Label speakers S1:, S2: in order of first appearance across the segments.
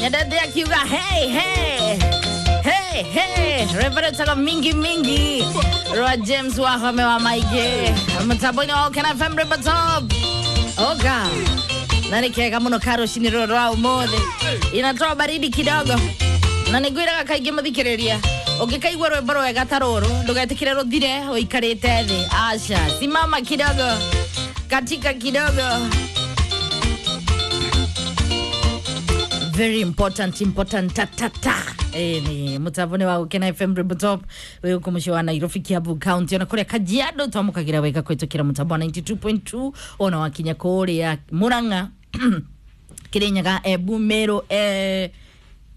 S1: Nyendete akiuga hey hey hey hey, Reverend Tago mingi mingi rwa James Wahome wa Maige mutambo-inĩ wa Ũkena FM Rwĩmbo Top oga na nĩ kega mũno karũcinĩ rũrũ rwa ũmũthĩ inatoa baridi kidogo na nĩ ngwĩraga kaingĩ mũthikĩrĩria ũngĩkaigua rwĩmbo rwega ta rũrũ ndũgetĩkĩre rũthire ũikarĩte thĩ aca simama kidogo katika kidogo very important important ta ta ta. Ni mutambo-inĩ wa Gũkena FM Rwĩmbo Top wĩ gũkũ mũciĩ wa Nairobi, Kiambu County, ona kũrĩa Kajiado twamũkagĩra wega kũhĩtũkĩra mũtambo wa 92.2 ona wakinya kũrĩa Murang'a, Kirinyaga, Embu, Meru,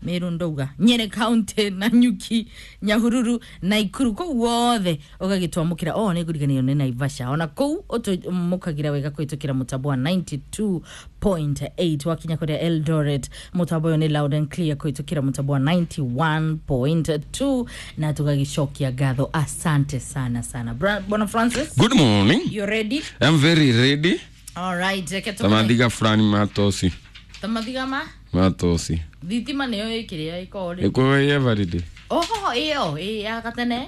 S1: Meru ndauga Nyeri County na Nyuki, Nyahururu, Naikuru, kũu wothe ũgagĩtwamũkĩra. O nĩ ngũriganĩrwo nĩ Naivasha, ona kũu ũtũmũkagĩra wega kũhĩtũkĩra mũtambo wa 92.8. Wakinya kũrĩa Eldoret mũtambo ũyũ nĩ loud and clear kũhĩtũkĩra mũtambo wa 91.2 na tũgagĩcokia ngatho, asante sana sana. Bwana Francis.
S2: Good morning.
S1: You ready?
S2: I'm very ready.
S1: All right, reke tũkone.
S2: Tamathiga fulani matosi.
S1: Tamathiga ma
S2: Matosi.
S1: Thitima nĩyo ĩkĩrĩa ĩkorwo rĩ.
S2: Ĩkorwo every day.
S1: Oho, ĩyo ĩ ya gatene.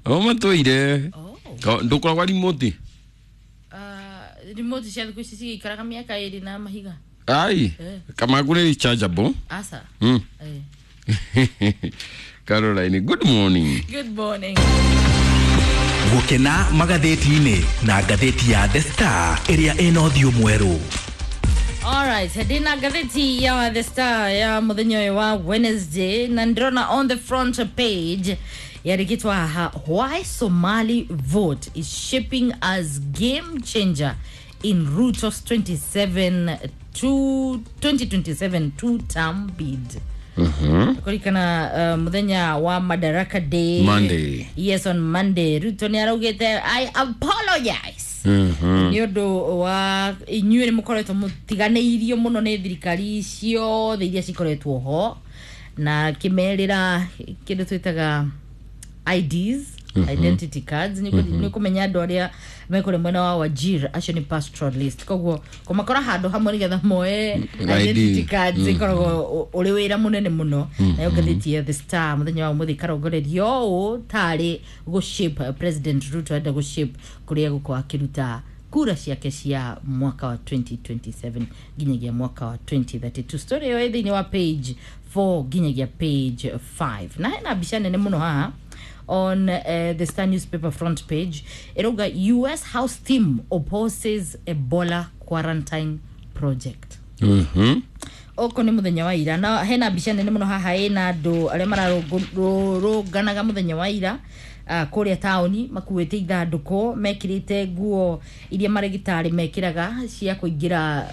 S2: O matũire.
S1: Oh.
S2: Ndũkoragwa remote.
S1: Remote cia thikũ ici cigĩikaraga mĩaka ĩrĩ na mahiga.
S2: Ai.
S1: Eh.
S2: Kamagu nĩ rechargeable.
S1: Aca. Eh.
S2: Caroline, good morning.
S1: Good morning.
S3: Gũkena magathĩti-inĩ na ngathĩti ya The Star ĩrĩa ĩna ũthiũ mwerũ.
S1: Alright, ndĩna ngathĩti ya The Star ya mũthenya ũyũ wa Wednesday na ndĩrona on the front page yandĩkĩtwo haha, "Why Somali vote is shaping as game changer in Ruto's 27 to 2027 two term bid." Kũrikana mũthenya wa Madaraka Day.
S2: Monday.
S1: Yes, on Monday Ruto nĩ araugĩte, "I apologize," nĩ ũndũ wa inyuĩ nĩ mũkoretwo mũtiganĩirio mũno nĩ thirikari ciothe iria cikoretwo ho, na kĩmerĩra kĩndũ twĩtaga IDs, identity cards, nĩ kũmenya andũ arĩa mekũrĩ mwena wa Wajir acio nĩ pastoralist, koguo kũmakora handũ hamwe nĩgetha moe identity cards ĩkoragwo ũrĩ wĩra mũnene mũno. Nayo ngathĩti ya The Star mũthenya wa ũmũthĩ ĩkarongoreria ũũ tarĩ gũ-shape President Ruto enda gũ-shape kũrĩa gũkorwo akĩruta kura ciake cia mwaka wa 2027 nginyagia mwaka wa 2032. Story ĩyo ĩ thĩinĩ wa page 4 nginyagia page 5, na hena mbica nene mũno haha on the Star newspaper front page ĩrauga, "US House team opposes Ebola quarantine project." Oko nĩ mũthenya wa ira na hena mbica nene mũno haha ĩna andũ arĩa mararũnganaga mũthenya wa ira kũrĩa taũni makuĩte ithandũkũ mekĩrĩte nguo iria marĩgĩtarĩ mekĩraga cia kũingĩra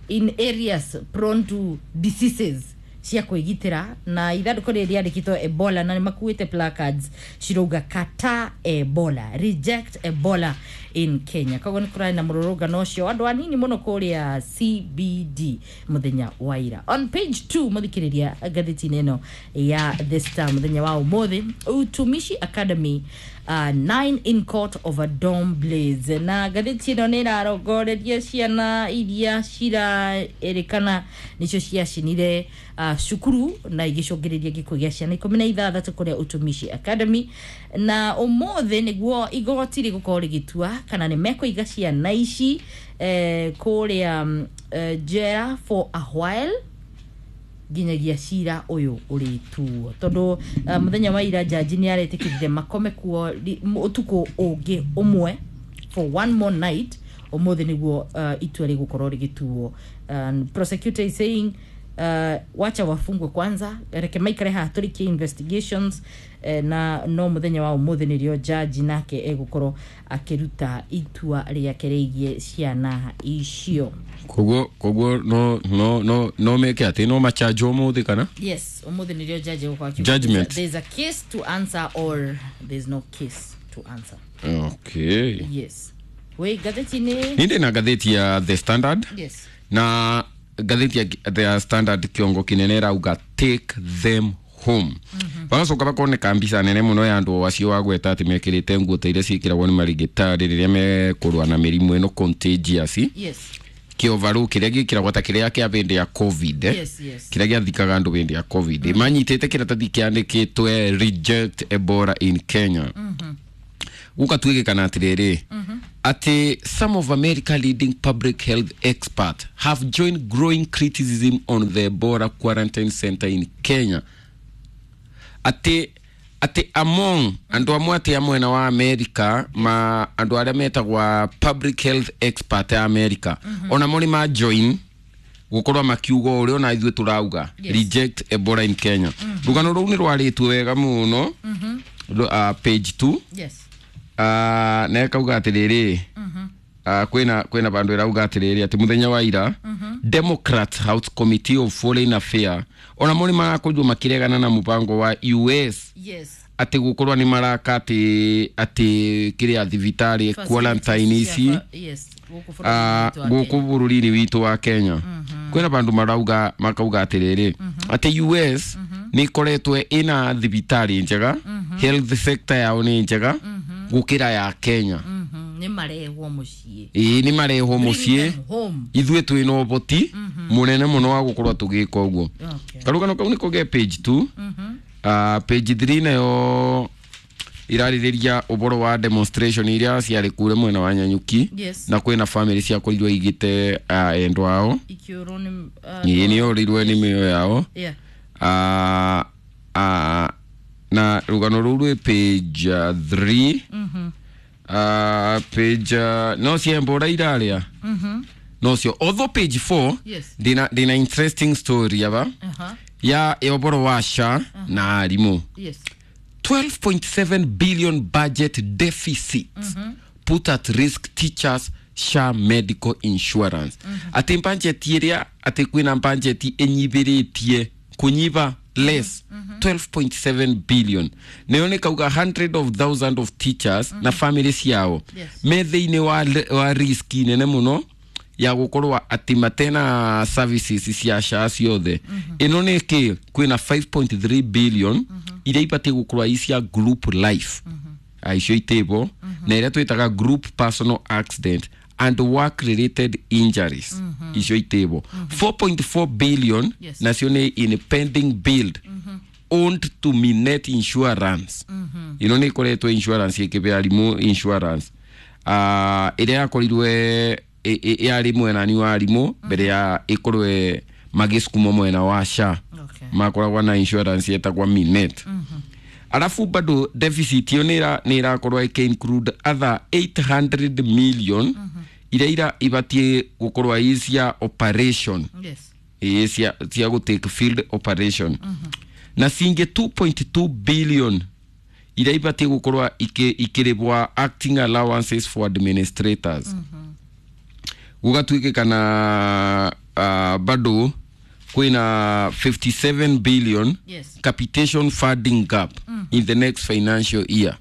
S1: in areas prone to diseases cia kwĩgitĩra, na ithandũkũ rĩrĩ rĩandĩkĩtwo Ebola na nĩ makuĩte placards cirauga, "Kata Ebola, reject Ebola in Kenya." Koguo nĩ kũrarĩ na mũrũrũngano ũcio andũ anini mũno kũrĩa CBD mũthenya wa ira. On page 2 mũthikĩrĩria ngathĩti-inĩ ĩno ya The Star mũthenya wa ũmũthĩ, Utumishi Academy, nine in court over dorm blaze, na ngathĩti ĩno nĩ ĩrarongoreria ciana iria ciraĩrĩkana nĩcio ciacinire cukuru na igĩcũngĩrĩria gĩkuũ gĩa ciana 16 kũrĩa Utumishi Academy, na ũmũthĩ nĩguo igoti rĩgũkorwo rĩgĩtua kana nĩ mekũiga ciana ici kũrĩa njera for a while nginyagia cira ũyũ ũrĩtuo, tondũ mũthenya wa ira jaji nĩ aretĩkĩrire makome kuo ũtukũ ũngĩ ũmwe, for one more night. Ũmũthĩ nĩguo itua rĩgũkorwo rĩgĩtuo. Prosecutor is saying, wacha wafungwe kwanza, reke maikare haha tũrĩkie investigations, na no mũthenya wa ũmũthĩ nĩrĩo jaji nake egũkorwo akĩruta itua rĩake rĩgiĩ ciana icio.
S2: Koguo no meke atĩ no machanjwo ũmũthĩ kana?
S1: Yes, ũmũthĩ nĩrĩo jaji egũkorwo akiuga
S2: Judgment.
S1: there's a case to answer or there's no case to answer.
S2: Okay.
S1: Yes, wĩ ngathĩti-inĩ.
S2: Nĩ ndĩ na ngathĩti ya The Standard.
S1: Yes.
S2: Na ngathĩti ya The Standard kĩongo kĩnene ĩrauga, "Take them home." Bagacoka bakoneka mbica nene mũno ya andũ acio wagweta atĩ mekĩrĩte nguo ta iria ciĩkĩragwo nĩ marigĩtarĩ rĩrĩa mekũrũa na mĩrimũ ĩno contagious.
S1: Yes.
S2: Kĩovarũ kĩrĩa gĩkĩragwo ta kĩrĩa kĩa hĩndĩ ya COVID, eh?
S1: Yes.
S2: Kĩrĩa gĩathikaga andũ hĩndĩ ya COVID. Manyitĩte kĩratathi kĩandĩkĩtwe "Reject Ebola in Kenya". Gũkatuĩkĩkana atĩrĩrĩ, atĩ some of America leading public health expert have joined growing criticism on the Ebola quarantine center in Kenya. Atĩ among andũ amwe atĩ a mwena wa America, ma andũ arĩa metagwa public health expert a America, ona mo nĩ ma join gũkorwo makiuga ũrĩa ona ithuĩ tũrauga, "Reject Ebola in Kenya". Rũgano rũu nĩ rwarĩtwo wega mũno page 2. Na ĩkauga atĩrĩrĩ, kwĩna vandũ ĩrauga atĩrĩrĩ atĩ mũthenya wa ira Democrat House Committee of Foreign Affair ona mo nĩ marakorirwo makĩregana na mũbango wa US atĩ gũkorwo nĩ maraka atĩ kĩrĩa thibitarĩ quarantine ici
S1: Yes, gũkũ bũrũri-inĩ witũ wa
S2: gũkũ bũrũri-inĩ witũ wa Kenya. Kwĩna vandũ marauga makauga atĩrĩrĩ atĩ US nĩ ĩkoretwo ĩna thibitarĩ njega, health sector yao nĩ njega gũkĩra ya Kenya.
S1: Nĩ marehwo mũciĩ.
S2: Ĩĩ, nĩ marehwo
S1: Bring
S2: mũciĩ.
S1: them home.
S2: Ithuĩ twĩna ũboti mũnene mũno wa gũkorwo tũgĩka ũguo. Karũgano kau nĩko ge page 2. Page 3 nayo irarĩrĩria ũboro wa demonstration iria ciarĩ kũrĩa mwena wa Nyanyuki na kwĩna family ciakorirwo igĩte endwa ao.
S1: Ikĩũrwo nĩ
S2: Ĩĩ, nĩ orĩirwo nĩ mĩoyo yao. Na rũgano rũu rwĩ page 3. Page no ciembũra irarĩa no cio, although page 4 ndĩna interesting story aba ya ũboro wa SHA na arimũ. 12.7 billion budget deficit put at risk teachers SHA medical insurance. Atĩ budget ĩrĩa atĩ kwĩna budget ĩnyibĩrĩtie kũnyiba less 12.7 billion, nayo nĩ kauga hundred of thousand of teachers na family ciao me thĩinĩ wa risk nene mũno ya gũkorwo atĩ matena services cia SHA ciothe. Ĩno nĩ kĩ kwĩna 5.3 billion iria ibatiĩ gũkorwo i cia group life, icio itĩbo na ĩrĩa twĩtaga group personal accident and work related injuries, icio itĩbo 4.4 billion. Nacio nĩ in pending bill owned to Minet Insurance. Ĩno nĩ ĩkoretwo insurance ĩkĩbe arimũ insurance, ĩrĩa yakorirwe yarĩ mwenani wa arimũ mbere ya ĩkorwe magĩsukumwo mwena wa SHA. Makoragwa na insurance yetagwa Minet. Alafu bado deficit ĩyo nĩ ĩrakorwo ĩkĩ include other 800 million iria ira ibatiĩ gũkorwo i cia operation. Ĩĩ, cia gũ take field operation, na cingĩ 2.2 billion iria ibatiĩ gũkorwo ikĩrĩbwa acting allowances for administrators. Gũgatuĩkĩkana bado kwĩna 57 billion capitation funding gap in the next financial year.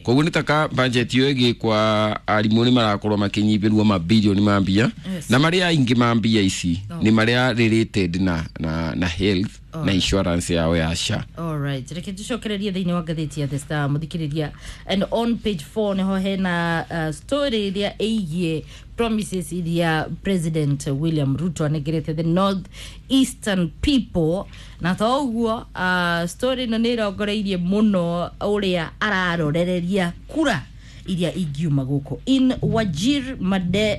S2: Koguo nĩ taka budget ĩyo ĩgĩkwa, arimũ nĩ marakorwo makĩnyibĩrwo mabilioni ma mbia. Na marĩa aingĩ ma mbia ici nĩ marĩa related na health na insurance yao ya SHA.
S1: Alright, reke tucokererie thĩinĩ wa ngathĩti ya The Star, mũthikĩrĩria, and on page 4 nĩho hena story ĩrĩa ĩgiĩ promises iria President William Ruto anengerete the North Eastern people. Na to ũguo story ĩno nĩ ĩrongoreirie mũno ũrĩa ararorereria kura iria ingiuma gũkũ in Wajir,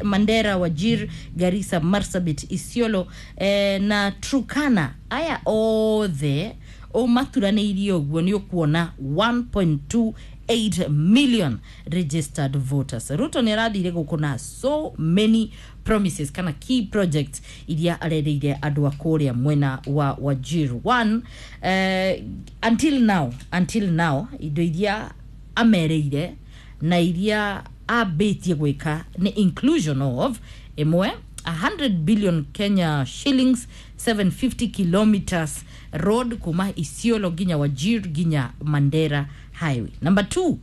S1: Mandera, Wajir, Garissa, Marsabit, Isiolo na Turkana. Aya othe ũmaturanĩirie ũguo nĩ ũkuona 1.28 million registered voters. Ruto nĩ arathire gũkũ na so many promises kana key projects iria arereire andũ a kũrĩa mwena wa Wajir. One, until now indo iria amereire na iria ambĩtie gwĩka nĩ inclusion of ĩmwe 100 billion Kenya shillings, 750 kilometers road kuma Isiolo nginya Wajir nginya Mandera highway. Number two,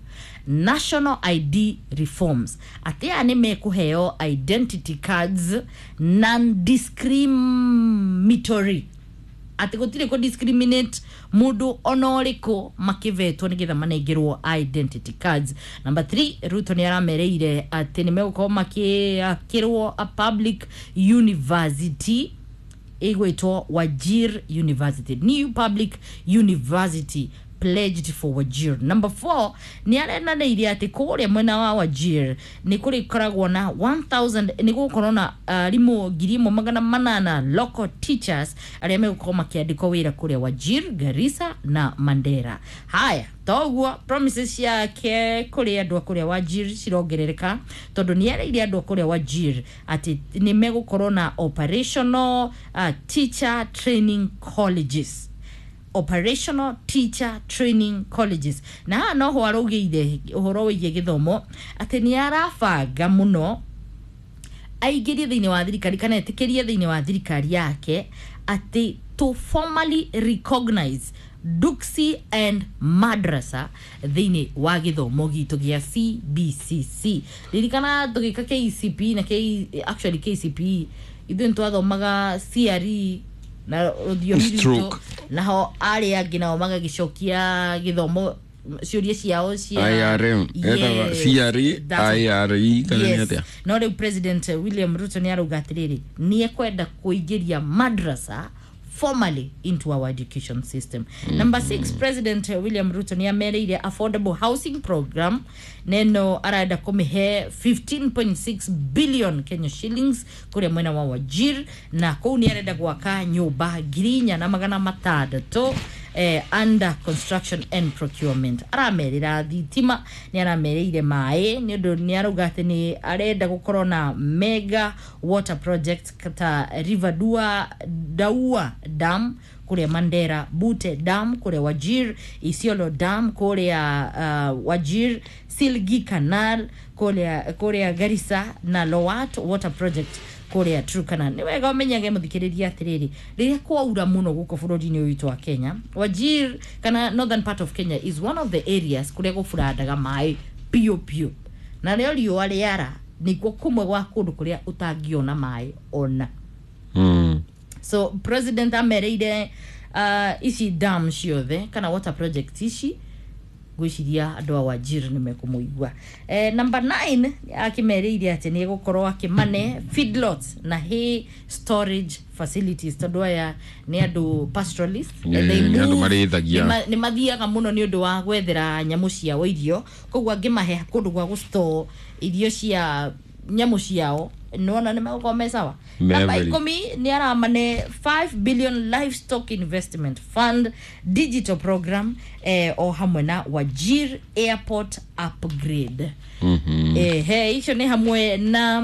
S1: national ID reforms, atĩ aya nĩ mekũheo identity cards, non discriminatory Atĩ gũtirĩ kũ discriminate mũndũ ona ũrĩkũ makĩvetwo nĩgetha manengerwo identity cards. Number 3, Ruto nĩ aramereire atĩ nĩ megũkorwo makĩakĩrwo a public university ĩgwĩtwo Wajir University, new public university pledged for Wajir. Number 4, nĩ arenanĩire atĩ kũrĩa mwena wa Wajir nĩ kũrĩkoragwo na 1000, nĩ gũgũkorwo na arimũ 1800 local teachers arĩa megũkorwo makĩandĩkwo wĩra kũrĩa Wajir, Garissa na Mandera. Haya, toguo promises ciake kũrĩ andũ a kũrĩa Wajir cirongerereka, tondũ nĩ ereire andũ a kũrĩa Wajir atĩ nĩ megũkorwo na operational teacher training colleges, operational teacher training colleges. Na haha noho araugĩire ũhoro wĩgiĩ gĩthomo atĩ nĩ arabanga mũno aingĩrie thĩinĩ wa thirikari kana etĩkĩrie thĩinĩ wa thirikari yake atĩ to formally recognize Duksi and Madrasa thĩinĩ wa gĩthomo gitũ gĩa CBCC. Ririkana tũgĩka KCP na actually KCPE, ithuĩ nĩ twathomaga CRE na rũthiomi rwitũ,
S2: Stroke.
S1: naho arĩa angĩ nao magagĩcokia gĩthomo ciũria ciao cia
S2: IRM. Etagwo
S1: Yes,
S2: CRE,
S1: that's
S2: IRE kana nĩ
S1: Yes.
S2: atĩa?
S1: No rĩu President William Ruto nĩ arauga atĩrĩrĩ, nĩ ekwenda kũingĩria madrasa formally into our education system. Number 6, President William Ruto nĩ amereire affordable housing program neno arenda kũmĩhe 15.6 billion Kenya shillings kũrĩa mwena wa Wajir, na kũu nĩ arenda gwaka nyũmba 4600 under construction and procurement. Aramerĩra thitima, nĩ aramereire maĩ, nĩ ũndũ nĩ arauga atĩ nĩ arenda gũkorwo na mega water project ta River Dua, Daua Dam kũrĩa Mandera, Bute Dam kũrĩa Wajir, Isiolo Dam kũrĩa Wajir, Silgi Canal kũrĩa Garissa na Lowat Water Project kũrĩa Turkana. Nĩ wega ũmenyage mũthikĩrĩria atĩrĩrĩ, rĩrĩa kwaura mũno gũkũ bũrũri-inĩ ũyũ witũ wa Kenya, Wajir kana northern part of Kenya is one of the areas kũrĩa gũburandaga maĩ piũ piũ, na rĩo riũa rĩara nĩkuo kũmwe gwa kũndũ kũrĩa ũtangĩona maĩ ona. So president amereire ici dam ciothe kana water project ici, ngwĩciria andũ a Wajir nĩ mekũmũigua. Number 9, akĩmereire atĩ nĩ egũkorwo akĩmane feedlots na hay storage facilities, tondũ aya nĩ andũ pastoralist. They
S2: Nĩ andũ
S1: move-
S2: marĩithagia.
S1: nĩ mathiaga mũno nĩ ũndũ wa gwethera nyamũ ciao irio, koguo angĩmahe kũndũ gwa gũstore irio cia nyamũ ciao, nĩwona nĩ megũkorwo me sawa.
S2: Me
S1: Namba
S2: very.
S1: 10 nĩ aramane 5 billion livestock investment fund digital program, o hamwe na Wajir airport upgrade. He icio nĩ hamwe na